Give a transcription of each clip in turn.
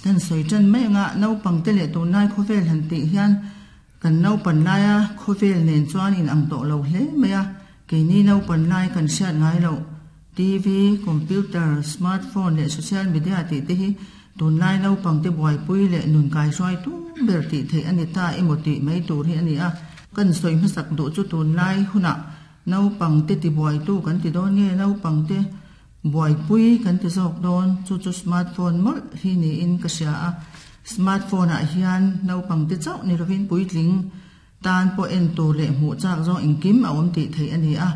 Kan sawi tan mai anga naupangte leh tunlai khawvel han tih hian kan naupan laia khawvel nen chuan inang tawh lo hle mai a, keini naupan lai kan hriat ngai loh TV, computer, smartphone leh social media tih te hi tunlai naupangte buaipui leh nun kaihruai tum ber tih theih a ni ta emaw tih mai tur hi a ni a. Kan sawi hmasak duh chu tunlai hunah naupangte tibuaitu kan ti dawn nge naupangte Buaipui kan ti zawk dawn, chu chu smartphone mawlh hi niin ka hria a. Smartphone ah hian naupang te chauh ni lovin puitling tan pawh en tur leh hmuh chak zawng engkim a awm tih theih a ni a.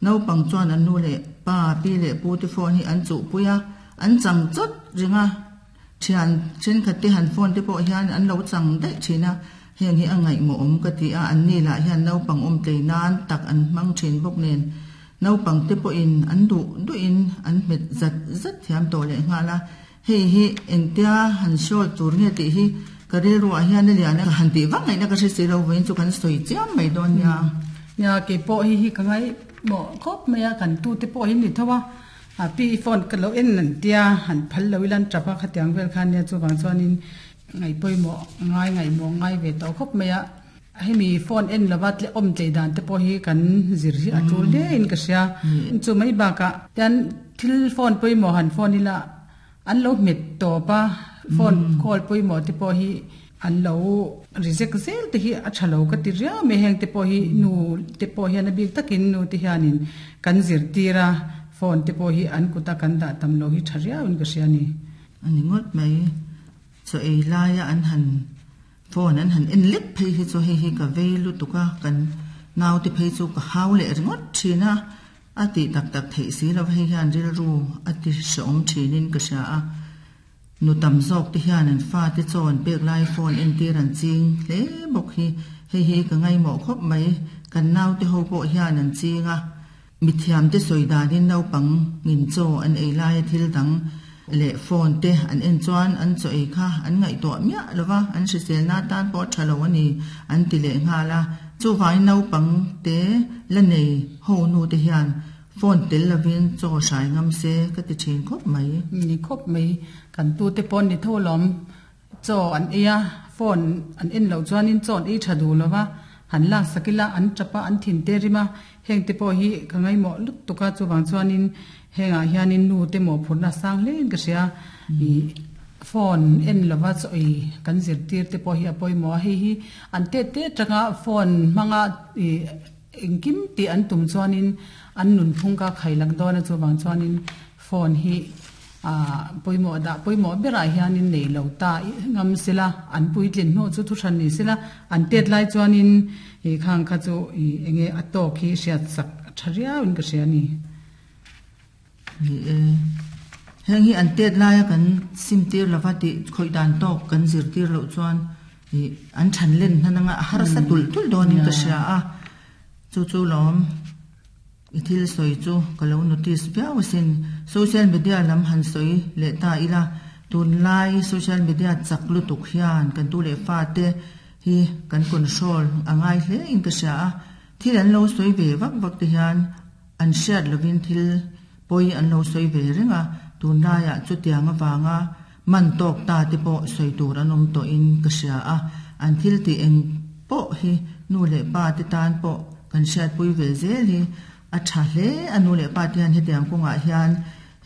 Naupang chuan an nu leh pa, pi leh pu te phone hi an chuhpui a, an chang chawt reng a. Thian thenkhat te han phone te pawh hian an lo chang daih thin a, heng hi a ngaihmawh awm ka ti a, an ni lah hian naupang awm tlei nan tak an hmang thin bawk nen naupang te pawhin an duh duhin an hmet zat zat thiam tawh leh nghal a, hei hi engtia han hrawl tur nge tih hi ka rilruah hian a lian a, ka han tih vak ngaihna ka hre si lo vawiin chu kan sawi chiam mai dawn nia. Nia keipawh hi hi ka ngaihmawh khawp mai a, kan tute pawh hi ni tho a. A pi phone ka lo en an tia, han phal lo ila an tap a, khatiang vel khan nia chuvang chuanin ngaihpawimawh ngai ngaihmawh ngai ve tawh khawp mai a. Hemi phone en lova tle awm tlei dan te pawh hi kan zir hi a tul hle in ka hria. Chu mai bakah tian thil phone pawimawh han phone ila an lo hmet tawp a, phone call pawimawh te pawh hi an lo reject zel te hi a tha lo ka ti riau mai. Heng te pawh hi nu te pawh hian a bik takin nu te hianin kan zirtir a, phone te pawh hi an kuta kan dah tam lo hi tha riauin ka hria a ni. A ni ngawt mai. Chaw ei laia an han phone an han en lek phei hi chu hei hi ka vei lutuk a, kan naute phei chu ka hau leh ringawt thin a. A tih tak tak theih si lo hei hian rilru a ti hrehawm thinin ka hria a, nu tam zawk te hian an fate chaw an pek lai phone entir an ching hle bawk hi, hei hi ka ngaimawh khawp mai, kan naute ho pawh hian an ching a, mithiam te sawi danin naupang ngin chaw an ei laia thil dang leh phone te an en chuan an chaw ei kha an ngaihtuah miah lo va, an hriselna atan pawh a tha lo a ni an ti leh nghal a. Chuvangin naupang te la nei ho nu te hian phone tel lovin chaw hrai ngam se ka ti thin khawp mai. Ni khawp mai. Kan tute pawh ni tho lawm. Chaw an ei a, phone an en loh chuanin chaw an ei tha duh lo va, han lak sak ila an tap a, an thin te rim a, heng te pawh hi ka ngaihmawh lut tuk a, chuvang chuanin hengah hianin nu te mawhphurhna a sang hlein ka hria. Ih phone en lova chaw ei kan zirtir te pawh hi a pawimawh a, hei hi an tet te atanga phone hmanga ih engkim tih an tum chuanin an nunphung kha khai lak dawn a, chuvang chuanin phone hi ah pawimawh dah pawimawh berah hianin nei lo ta ngam sela an puitlin hnu chu thuhran ni sela an tet lai chuanin ih khang kha chu ih enge a tawk hi hriat sak a tha riauin ka hria a ni. Ni e, heng hi an tet laia kan sim tir lova tih khawih dan tawk kan zir tir loh chuan ih an than len hnan anga a harsa tulh tulh dawnin ka hria a, chu chu lawm i thil sawi chu ka lo notice viau asin. Social media lam han sawi leh ta ila, tunlai social media chak lutuk hian kan tu leh fate hi kan control a ngai hle in ka hria a, thil an lo sawi ve vak vak te hian An hriat lovin thil pawi an lo sawi ve reng a, tunlaiah chutiang avanga man tawk ta te pawh sawi tur an awm tawhin ka hria a, an thil tih eng pawh hi nu leh pa te tan pawh kan hriatpui ve zel hi a tha hle a, nu leh pa te hian hetiang kawngah hian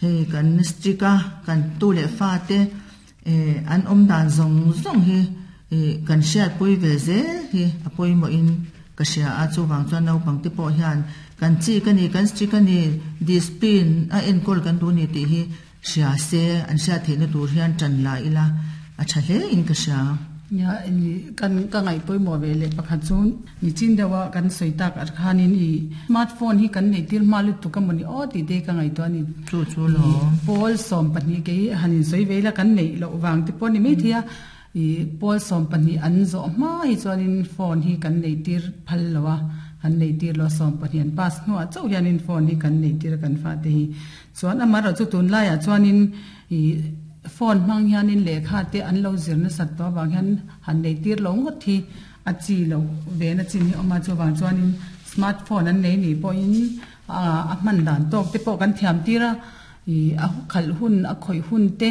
hei kan strict a, kan tu leh fa te an awm dan zawng zawng hi kan hriatpui ve zel hi a pawimawhin ka hria a, chuvang chuan naupang te pawh hian kan chik a ni, kan strict a ni, discipline a enkawl kan duh a ni tih hi hria se, an hriat theihna tur hian tan la ila a tha hle in ka hria. Nia, kan ka ngaih pawimawh ve leh pakhat chu nichin deuha kan sawi tak ah khanin i smartphone hi kan neih tir hma lutuk a mawni aw tih te ka ngaihtuah a ni. Chu chu lo. Pawl 12 kei han insawi ve ila kan neih loh vang te pawh a ni maithei a, i pawl 12 an zawh hma hi chuanin phone hi kan neih tir phal lo a, kan neih tir lo a 12 an pass hnuah chauh hianin phone hi kan neih tir a kan fate hi. Chuan amaherawhchu tunlaiah chuanin i phone hmang hianin lehkha te an lo zir nasat tawh avang hian han nei tir lo ngawt hi a chi loh ve na chin hi a awm a, chuvang chuanin smart phone an nei nih pawhin a hman dan tawk te pawh kan thiam tir a, ih a khalh hun a khawih hun te.